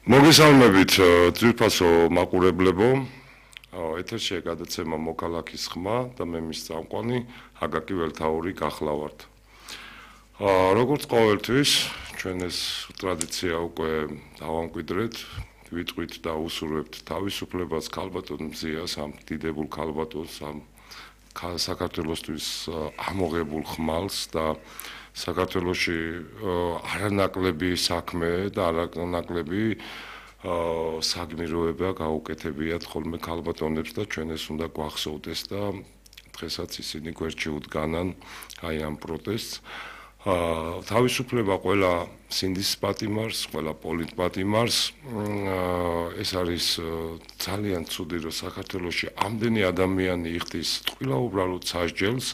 მოგესალმებით ძვირფასო მაყურებლებო. ეთერშია გადაცემა მოქალაქის ხმა და მე მის წამყვანი აკაკი ველთაური გახლავართ. როგორც ყოველთვის, ჩვენ ეს ტრადიცია უკვე დავამკვიდრეთ, ვიტყვით და უსურვებთ თავისუფლებას ქალბატონ მზიას, ამ დიდებულ ქალბატონს, ამ საქართველოსთვის ამოღებულ ხმალს და საქართველოში არანაკლები საქმე და არანაკლები საგმიროება გაუკეთებიათ ხოლმე ქალბატონებს და ჩვენ ეს უნდა გვახსოვდეს და დღესაც ისინი გვერდში უდგანან აი ამ პროტესტს. თავისუფლება ყველა სინდის პატიმარს, ყველა პოლიტპატიმარს. ეს არის ძალიან ცუდი, რომ საქართველოში ამდენი ადამიანი იხდის ტყუილა უბრალოდ სასჯელს.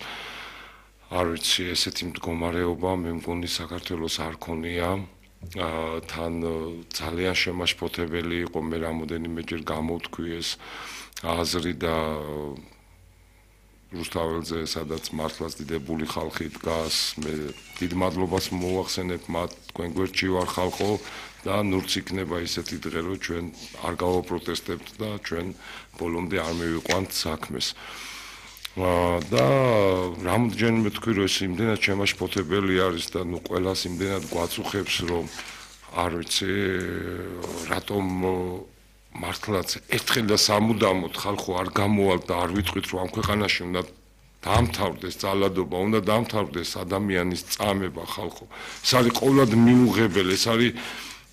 არ ვიცი, ესეთი მდგომარეობა მე მგონი საქართველოს არ ქონია. თან ძალიან შემაშფოთებელი იყო მე რამოდენიმეჯერ გამოვთქვი ეს აზრი და რუსთაველზე სადაც მართლაც დიდებული ხალხი დგას, მე დიდ მადლობას მოახსენებ მათ, თქვენ გვერდში ვარ ხალხო და ნურც იქნება ისეთი დღე, რომ ჩვენ არ გავაპროტესტებთ და ჩვენ ბოლომდე არ მივიყვანთ საქმეს. და რამდენიმე თქვი რომ ეს იმდენად შემაშფოთებელი არის და ნუ ყველას იმდენად გვაწუხებს რომ არ ვიცი რატომ მართლაც ერთხელ და სამუდამოდ ხალხო არ გამოვალ და არ ვიტყვით რომ ამ ქვეყანაში უნდა დაამთავრდეს ძალადობა, უნდა დაამთავრდეს ადამიანის წამება ხალხო. ეს არის ყოველად მიუღებელი, ეს არის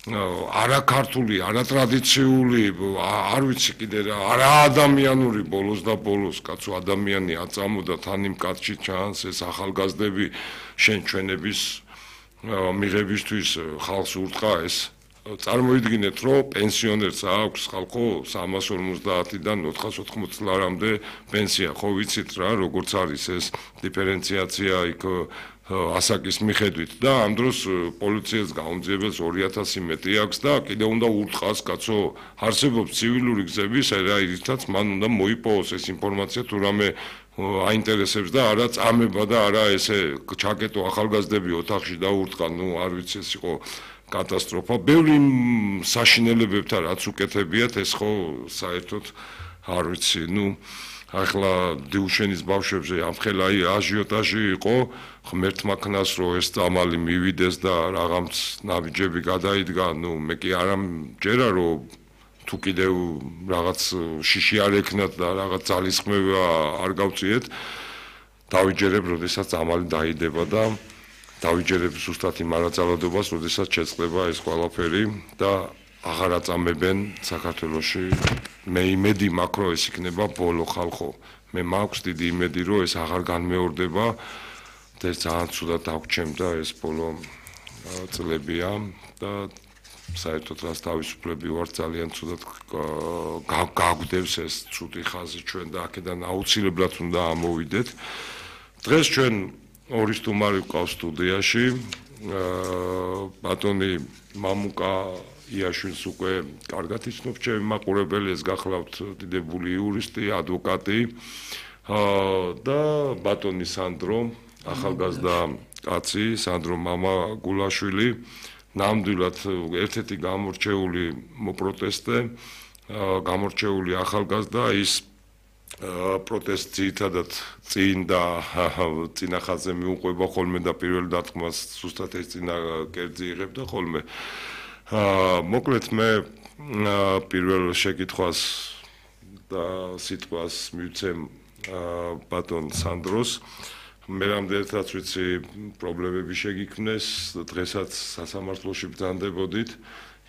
არაქართული, არატრადიციული, არ ვიცი კიდე რა, არაადამიანური ბოლოს და ბოლოს, კაცო ადამიანი აწამოდა თან იმ კაცში ჩანს ეს ახალგაზრდები შენ ჩვენების მიღებისთვის ხალხს ურტყა ეს. წარმოიდგინეთ, რომ პენსიონერს აქვს ხალხო 350-დან 480 წლამდე პენსია, ხო ვიცით რა, როგორც არის ეს დიფერენციაცია იქ ასაკის მიხედვით და ამ დროს პოლიციას გაუმძიებელს 2000 მეტი აქვს და კიდე უნდა ურტყას კაცო, არსებობს ცივილური გზები, რაითაც მან უნდა მოიპოვოს ეს ინფორმაცია თუ რამე აინტერესებს და არა წამება და არა ესე ჩაკეტო ახალგაზრდები ოთახში და ურტყა, ნუ არ ვიცი ეს იყო კატასტროფა. ბევრი საშინელებებთან რაც უკეთებიათ ეს ხო საერთოდ არ ვიცი, ნუ ახლა დიუშენის ბავშვებზე ამხელა აჟიოტაჟი იყო, ღმერთმა ქნას რომ ეს წამალი მივიდეს და რაღაც ნაბიჯები გადაიდგა, ნუ მე კი არ ამჯერა რომ თუ კიდევ რაღაც შიში არ ეკნათ და რაღაც ძალისხმევა არ გავწიეთ, დავიჯერებ, როდესაც წამალი დაიდება და დავიჯერებ ზუსტად იმ არაწალადობას, როდესაც შეწყდება ეს ყველაფერი და აღარ აწამებენ საქართველოში. მე იმედი მაქვს, რომ ეს იქნება ბოლო ხალხო. მე მაქვს დიდი იმედი, რომ ეს აღარ განმეორდება და ძალიან ცუდად აღჩემდა ეს ბოლო წლებია და საერთოდ რას თავისუფლები ვარ ძალიან ცუდად გაგვდევს ეს ცუდი ხაზი ჩვენ და აქედან აუცილებლად უნდა ამოვიდეთ. დღეს ჩვენ ორი სტუმარი ვყავს სტუდიაში. ბატონი მამუკა იაშვილს უკვე კარგად იცნობთ ჩემი მაყურებელი, ეს გახლავთ დიდებული იურისტი, ადვოკატი და ბატონი სანდრო, ახალგაზრდა კაცი, სანდრო მამაგულაშვილი, ნამდვილად ერთ-ერთი გამორჩეული პროტესტე, გამორჩეული ახალგაზრდა, ის პროტესტი ძირითადად წინ და წინა ხაზზე მიუყვება ხოლმე და პირველ დარტყმას ზუსტად ეს წინა კერძი იღებდა ხოლმე. მოკლედ მე პირველ შეკითხვას და სიტყვას მივცემ ბატონ სანდროს. მე რამდენადაც ვიცი პრობლემები შეგიქმნეს, დღესაც სასამართლოში ბრძანდებოდით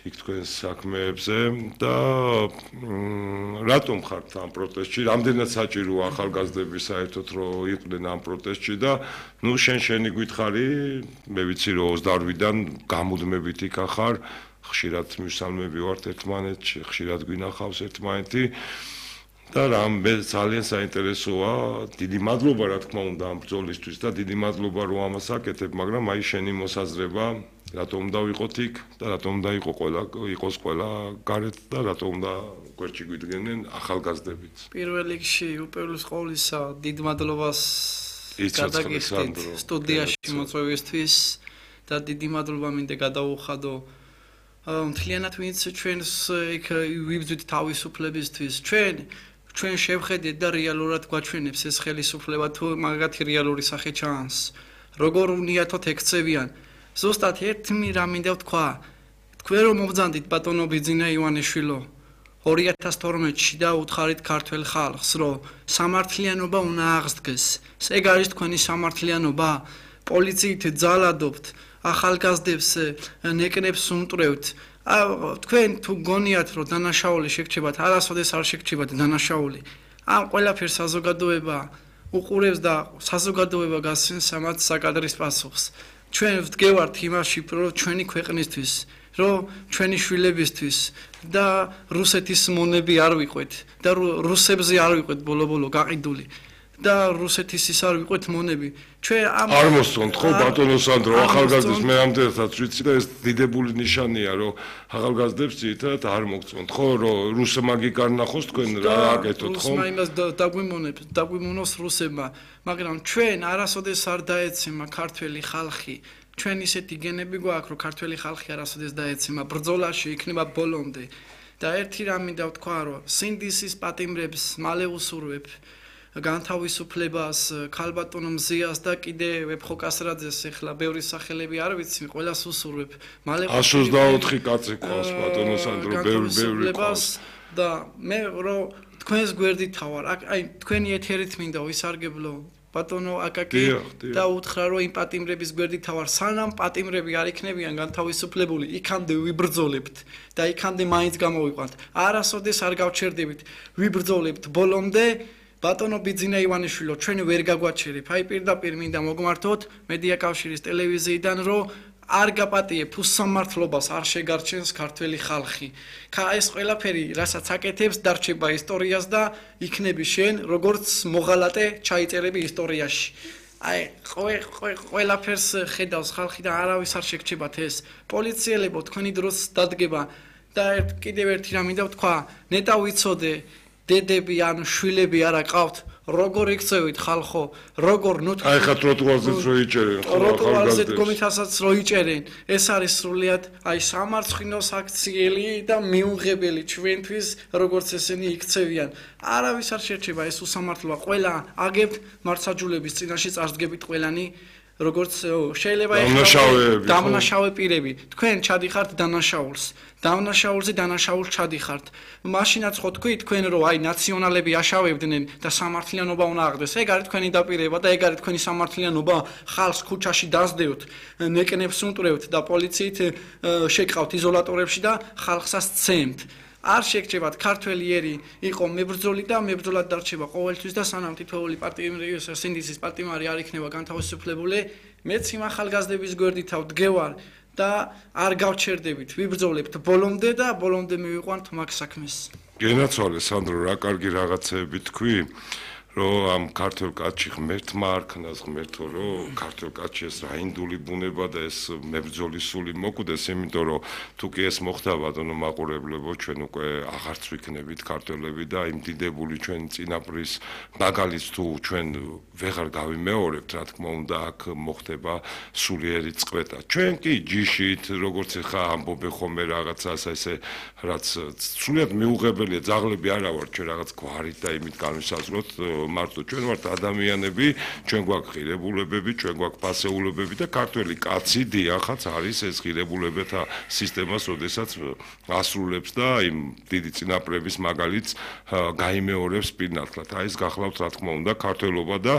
იქ თქვენს საქმეებზე და რატომ ხართ ამ პროტესტში? რამდენად საჭიროა ახალგაზრდები საერთოდ რომ იყვნენ ამ პროტესტში და ნუ შენი გვითხარი, მე ვიცი რომ 28-დან გამუდმებით იქ ახარ, ხშირად მისალმები ვართ ერთმანეთში, ხშირად გვინახავს ერთმანეთი და მე ძალიან საინტერესოა, დიდი მადლობა რა თქმა უნდა ამ ბრძოლისთვის და დიდი მადლობა რომ ამას აკეთებ, მაგრამ აი შენი მოსაზრება რატომ უნდა ვიყოთ იქ და რატომ უნდა იყოს ყველა გარეთ და რატომ უნდა გვერდში გვიდგენენ ახალგაზრდებიც. პირველ რიგში უპირველეს ყოვლისა დიდ მადლობას გადაგიხდით სტუდიაში მოწვევისთვის და დიდი მადლობა მინდა გადაუხადო მთლიანად ვინც ჩვენს იქ ვიბრძვით თავისუფლებისთვის ჩვენ შევხედეთ და რეალურად გვაჩვენებს ეს ხელისუფლება თუ მაგათი რეალური სახე ჩანს როგორ უნიათოდ ექცევიან ზუსტად ერთი რამ მინდა ვთქვა თქვენ რომ მობრძანდით ბატონო ბიძინა ივანიშვილო 2012-ში და უთხარით ქართველ ხალხს რომ სამართლიანობა უნდა აღსდგეს ეგ არის თქვენი სამართლიანობა პოლიციით ძალადობთ ახალგაზრდებს ნეკნებს უმტვრევთ თქვენ თუ გონიათ რომ დანაშაული შეგრჩებათ არასოდეს არ შეგრჩებათ დანაშაული ამ ყველაფერს საზოგადოება უყურებს და საზოგადოება გასცემს ამათ საკადრის პასუხს ჩვენ ვდგევართ იმაში რომ ჩვენი ქვეყნისთვის რომ ჩვენი შვილებისთვის და რუსეთის მონები არ ვიყვეთ და რუსებზე არ ვიყვეთ ბოლო-ბოლო გაყიდული და რუსეთის ის არ ვიყვეთ მონები ჩვენ არ მოსწონთ ხო ბატონო სანდრო ახალგაზრდებს მე ამდენსაც ვიცი და ეს დიდებული ნიშანია რომ ახალგაზრდებს ძირითადად არ მოგწონთ ხო რომ რუსმაგი გარნახოს თქვენ რა აკეთოთ ხო რუსმა იმას დაგვიმონოს რუსებმა მაგრამ ჩვენ არასოდეს არ დაეცემა ქართველი ხალხი ჩვენ ისეთი გენები გვაქვს რომ ქართველი ხალხი არასოდეს დაეცემა ბრძოლაში იქნება ბოლომდე და ერთი რამ მინდა ვთქვა რომ სინდისის პატიმრებს მალე უსურვებ განთავისუფლებას ქალბატონო მზიას და კიდე ვეფხოკასრაძეს ეხლა ბევრი სახელები არ ვიცი ყველას უსურვებ მალე 124 კაცი ყავს ბატონო სანდრო ბევრი ყავს და მე რომ თქვენს გვერდით თავარ აი თქვენი ეთერით მინდა ვისარგებლო ბატონო აკაკი და უთხრა რომ იმ პატიმრების გვერდით თავარ სანამ პატიმრები არ იქნებიან განთავისუფლებული იქამდე ვიბრძოლებთ და იქამდე მაინც გამოვიყვანთ არასოდეს არ გავჩერდებით ვიბრძოლებთ ბოლომდე ბატონო ბიძინა ივანიშვილო ჩვენ ვერ გაგვაჩერებ აი პირდაპირ მინდა მოგმართოთ მედია კავშირის ტელევიზიიდან რომ არ გაპატიებთ უსამართლობას არ შეგარჩენს ქართველი ხალხი ეს ყველაფერი რასაც აკეთებს დარჩება ისტორიას და იქნები შენ როგორც მოღალატე ჩაიწერები ისტორიაში აი ყველაფერს ხედავს ხალხი და არავის არ შეგრჩებათ ეს პოლიციელებო თქვენი დროს დადგება და კიდევ ერთი რამ მინდა ვთქვა ნეტა ვიცოდე დედები ან შვილები არა ყავთ როგორ იქცევით ხალხო როგორ ნუთხი აი ხა ტროტუარზეც რო იჭერენ ტროტუარზე კომიტასაც რო იჭერენ ეს არის სრულიად აი სამარცხინოს აქციელი და მიუღებელი ჩვენთვის როგორც ესენი იქცევიან არავის არ შერჩება ეს უსამართლოა ყველა აგებთ მართლმსაჯულების წინაშე წარსდგებით ყველანი როგორც შეიძლება დამნაშავე პირები თქვენ ჩადიხართ დანაშაულზე დანაშაულს ჩადიხართ მაშინაც ხო თქვენ რომ აი ნაციონალები აშავებდნენ და სამართლიანობა უნდა აღდეს ეგ არის თქვენი დაპირება და ეგ არის თქვენი სამართლიანობა ხალხს ქუჩაში დასდევთ ნეკნებს უმტვრევთ და პოლიციით შეკავთ იზოლატორებში და ხალხსაც ცემთ არ შეგრჩებათ ქართველი ერი იყო მებრძოლი და მებრძოლად დარჩება ყოველთვის და სანამ თითოეული პარტიის სინდისის პარტიმარი არ იქნება განთავისუფლებული მეც იმ ახალგაზრდების გვერდით ვდგევარ და არ გავჩერდებით ვიბრძოლებთ ბოლომდე და ბოლომდე მივიყვანთ მაგ საქმეს გენაცვალე სანდრო რა კარგი რაღაცეები თქვი რომ ამ ქართულ კაცში ღმერთმა არქნას ღმერთო რომ ქართულ კაცში ეს რაინდული ბუნება და ეს მებრძოლის სული მოკვდეს იმიტომ რომ თუ კი ეს მოხდა ბატონო მაყურებლებო ჩვენ უკვე აღარც ვიქნებით ქართველები და იმ დიდებული ჩვენ წინაპრის მაგალითს თუ ჩვენ ვეღარ გავიმეორებთ რა თქმა უნდა აქ მოხდება სულიერი წყვეტა ჩვენ კი ჯიშით როგორც ხა ამბობე ხოლმე რაღაცას ესე რაც სულიად მიუღებელია ძაღლები არა ვარ ჩვენ რაღაც გვარით და იმით განვისაზღვროთ მარტო ჩვენ ვართ ადამიანები, ჩვენ გვაქვს ღირებულებები, ჩვენ გვაქვს ფასეულებები და ქართველი კაცი დიახაც არის ეს ღირებულებათა სისტემას, როდესაც ასრულებს და იმ დიდი წინაპრების მაგალითს გაიმეორებს პირნათლად. აი ეს გახლავთ რა თქმა უნდა ქართველობა და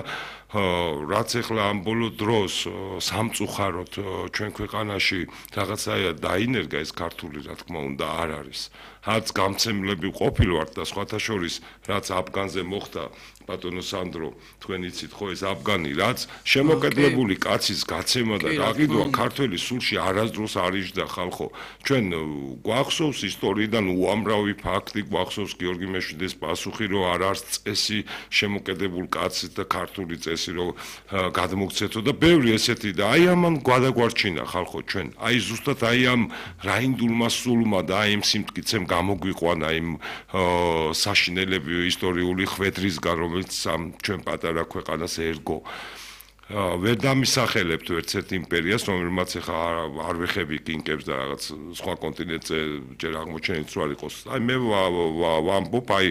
რაც ახლა ამ ბოლო დროს სამწუხაროდ ჩვენ ქვეყანაში რაღაცაა დაინერგა ეს ქართული რა თქმა უნდა არ არის. რაც გამცემლები ყოფილვართ და სხვათა შორის რაც აფგანზე მოხდა ბატონო სანდრო თქვენ იცით ხო ეს აფგანი რაც შემოკედლებული კაცის გაცემა და გაყიდვა ქართველი სულში არასდროს არ იჯდა ხალხო ჩვენ გვახსოვს ისტორიიდან უამრავი ფაქტი გვახსოვს გიორგი მეშვიდეს პასუხი რომ არ არის წესი შემოკედებულ კაცის და ქართული წესი რომ გადმოგცეთო და ბევრი ესეთი და აი ამან გვადაგვარჩინა ხალხო ჩვენ აი ზუსტად აი ამ რაინდულმა სულმა და აი ამ სიმტკიცემ გამოგვიყვანა იმ საშინელები ისტორიული ხვედრისგან რომელიც ამ ჩვენ პატარა ქვეყანას ერგო ვერ დამისახელებთ ერთ-ერთ იმპერიას, რომელმაც ახლა არ ვეხები კინკებს და რაღაც სხვა კონტინენტზე ჯერ აღმოჩენილიც რო არ იყოს. აი მე ვამბობ, აი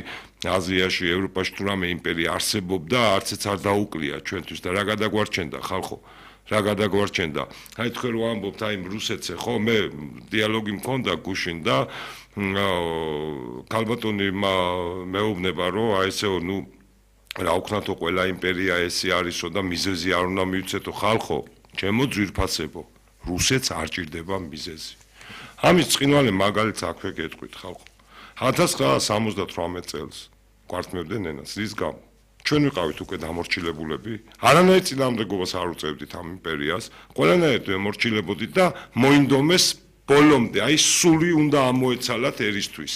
აზიაში, ევროპაში თუ რამე იმპერია არსებობდა, არცეც არ დაუკლია ჩვენთვის და რა გადაგვარჩენდა ხალხო. რა გადაგვარჩენდა. აი თქვენ რო ამბობთ აი რუსეთზე, ხო, მე დიალოგი მქონდა გუშინ და ქალბატონი მეუბნება, რომ აი ესეო, ნუ რა უქნათო ყველა იმპერია ესე არისო და მიზეზი არ უნდა მივცეთო ხალხო, ჩემო ძვირფასებო, რუსეთს არ ჭირდება მიზეზი. ამის წყინვალე მაგალითს აქვე გეტყვით ხალხო. 1978 წელს გვართმევდნენ ენას, რის გამო? ჩვენ ვიყავით უკვე დამორჩილებულები, არანაირ წინააღმდეგობას არ უწევდით ამ იმპერიას, ყველანაირად ვემორჩილებოდით და მოინდომეს ბოლომდე, აი სული უნდა ამოეცალათ ერისთვის,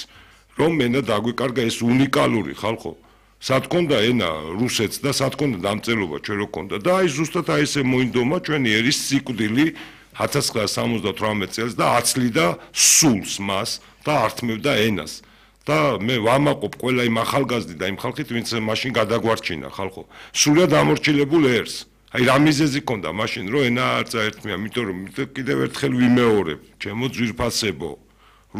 რომ მენა დაგვიკარგა ეს უნიკალური ხალხო. სათქონდა ენა რუსეთს და სათქონდა დამწერლობა ჩვენ რო ქონდა და აი ზუსტად აი ესე მოინდომა ჩვენი ერის სიკვდილი 1978 წელს და აცლიდა სულს მას და ართმევდა ენას. და მე ვამაყობ ყველა იმ ახალგაზრდით და იმ ხალხით, ვინც მაშინ გადაგვარჩინა ხალხო. სულიად ამორჩილებულ ერს. აი რა მიზეზი ქონდა მაშინ, რომ ენა არ წაერთმია, იმიტომ რომ კიდევ ერთხელ ვიმეორებ, ჩემო ძვირფასებო,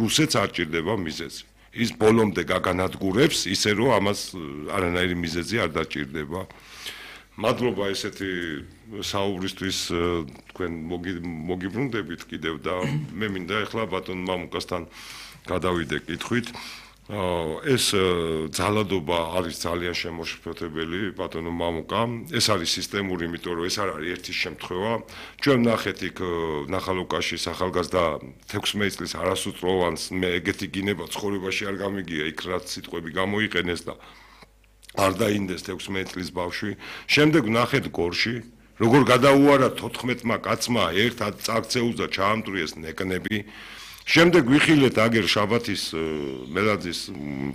რუსეთს არ ჭირდება მიზეზი. ის ბოლომდე გაგანადგურებს, ისე რომ ამას არანაირი მიზეზი არ დაჭირდება. მადლობა ესეთი საუბრისთვის თქვენ მოგიბრუნდებით კიდევ და მე მინდა ახლა ბატონ მამუკასთან გადავიდე კითხვით. ეს ძალადობა არის ძალიან შემოშფოთებელი ბატონო მამუკა. ეს არის სისტემური, იმიტომ რომ ეს არ არის ერთი შემთხვევა. ჩვენ ნახეთ იქ ნახალოკაშის ახალგაზრდა 16 წლის არასრულოვანს მე ეგეთი გინება ცხოვრებაში არ გამიგია, იქ რაც სიტყვები გამოიყენეს და არ დაინდეს 16 წლის ბავშვი. შემდეგ ნახეთ გორში, როგორ გადაუარა 14-მა კაცმა ერთად წაქცეულს და ჩაამტვრიეს ნეკნები. შემდეგ ვიხილეთ აგერ შაბათის მელაძის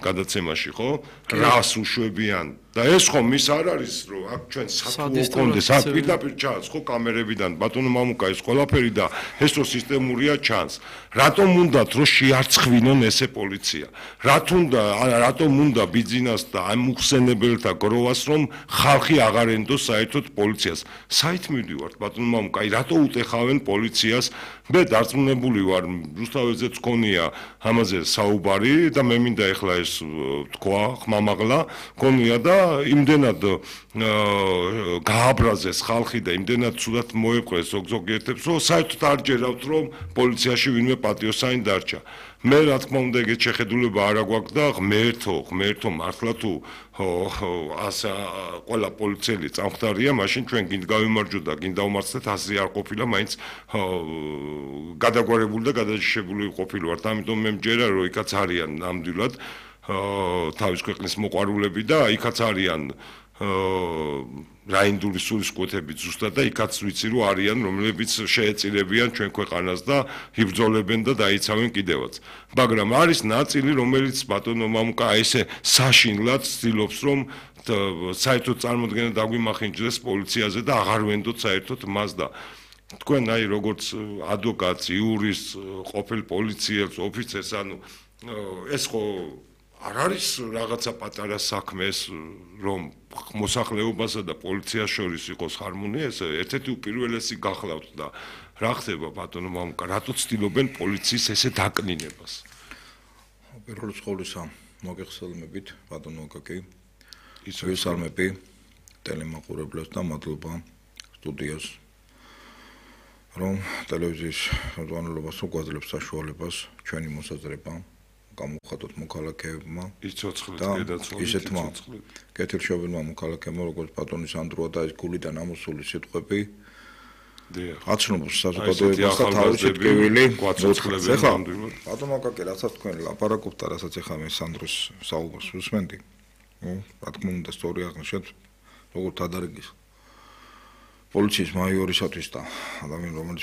გადაცემაში, ხო? რას უშვებიან და ეს ხომ ის არ არის, რომ აქ ჩვენ საფუო კონდეს, აქ პირდაპირ ჩანს, ხო, კამერებიდან, ბატონო მამუკა ეს ყველაფერი და ეს რო სისტემურია ჩანს. რატომ უნდათ რომ შეარცხვინონ ესე პოლიცია? რატომ უნდა ბიძინას და ამ უხსენებელთა გროვას რომ ხალხი აღარ ენდოს საერთოდ პოლიციას? საით მივდივართ, ბატონო მამუკა, აი რატო უტეხავენ პოლიციას? მე დარწმუნებული ვარ, რუსთაველზეც ქონია ამაზე საუბარი და მე მინდა ეხლა ეს თქვა ხმამაღლა ქონია და იმდენად გააბრაზეს ხალხი და იმდენად ცუდად მოეყრეს ზოგიერთებს, რომ საერთოდ არ ჯერავთ, რომ პოლიციაში ვინმე პატიოსანი დარჩა. მე რა თქმა უნდა ეგეთ შეხედულება არ აგვაქვს და ღმერთო მართლა თუ ასა ყველა პოლიციელი წამხდარია, მაშინ ჩვენ გინდ გავიმარჯვოთ და გინდ დავმარცხდეთ, ასე არ ყოფილა, მაინც გადაგვარებული და გადაჯიშებული ყოფილვართ. ამიტომ მე მჯერა, რომ იქაც არიან ნამდვილად თავის ქვეყნის მოყვარულები და იქაც არიან რაინდული სულისკვეთებით ზუსტად და იქაც ვიცი რომ არიან რომლებიც შეეწირებიან ჩვენ ქვეყანას და იბრძოლებენ და დაიცავენ კიდევაც. მაგრამ არის ნაწილი რომელიც ბატონო მამუკა ესე საშინლად ცდილობს რომ საერთოდ წარმოდგენა დაგვიმახინჯდეს პოლიციაზე და აღარ ვენდოთ საერთოდ მას და თქვენ აი როგორც ადვოკატს, იურისტს, ყოფილ პოლიციელს, ოფიცერს, ანუ ეს ხო არ არის რაღაცა პატარა საქმე ეს რომ მოსახლეობასა და პოლიციას შორის იყოს ჰარმონია, ეს ერთ-ერთი უპირველესი გახლავთ და რა ხდება ბატონო მამუკა, რატო ცდილობენ პოლიციის ესე დაკნინებას? პირველ რიგში მოგეხსენებით ბატონო ოკაკი, ვისალმები ტელემაყურებლებს და მადლობა სტუდიას რომ ტელევიზიის ხელმძღვანელობას უგვაძლევს საშუალებას ჩვენი მოსაზრება გამოხატოთ მოქალაქეებმა და ისეთმა კეთილშობილმა მოქალაქეებმა როგორც ბატონის ანდროა და ეს გულიდან ამოსული სიტყვები აცნობს საზოგადოებას და თავისი ტკივილი გვაცოცხლებს ნამდვილად. ბატონო აკაკი, რასაც თქვენ ლაპარაკობთ და რასაც ეხლა მე სანდროს საუბარს ვუსმენდი, რა თქმა უნდა სწორი აღნიშნეთ, როგორც ადარგის პოლიციის მაიორისათვის და ადამიან რომელიც